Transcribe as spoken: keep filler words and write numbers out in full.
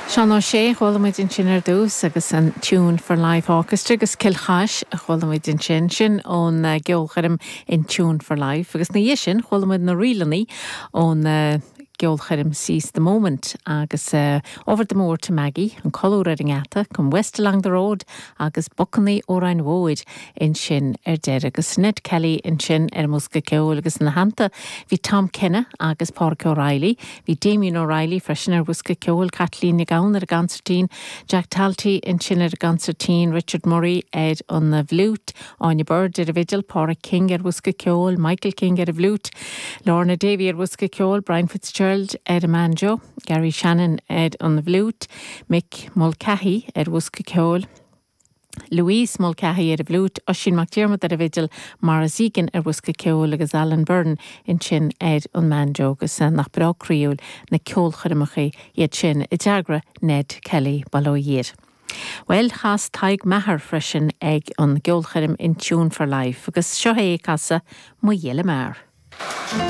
Seán Ó Sé chuala muid ansin ar dtús agus an Tune for Life Orchestra agus Cill Chais a chuala muid ansin sin ón uh, gceolchoirm In Tune for Life agus ina dhiaidh sin chuala muid na Ríleanna ón uh, gceolchoirm Seize the Moment agus uh, Over the Moor to Maggie an colúr ar an ngeata Come West Along the Road agus Bucannaí Óráin Mhóir ansin ar deireadh agus Ned Kelly ansin ar an mbosca ceoil agus ina theannta bhí Tom Kenna agus Pádraig O'Reilly, bhí Damien O'Reilly freisin ar bhosca ceoil Kathleen Nic Gabhann ar an gconsairtín, Jack Talty ansin ar an gconsairtín, Richard Murray ar an bhfliúit, Áine Bird ar an bhfidil, Pádraig King ar bhosca ceoil, Michael King ar an bhfliúit, Lorna Davy ar bhosca ceoil, Brian Fitzgerald ar an mbanjo, Gary Shannon ar an bhfliúit, Mick Mulcahy ar bhosca ceoil. Louise Mulcahy ar an bhfliúit Oisín McDermott ar an bhfidil mar Zegan ar bhosca ceoil agus Alan Byrne ansin ar an mbanjo agus nach breá croíúil na ceolchoirmeacha iad sin a d'eagraigh Ned Kelly Baloiir. Well chas Tadhg Maher freisin ag an gceolchoirm In Tune for Life agus seo é ag casadh Mo Ghile Mear.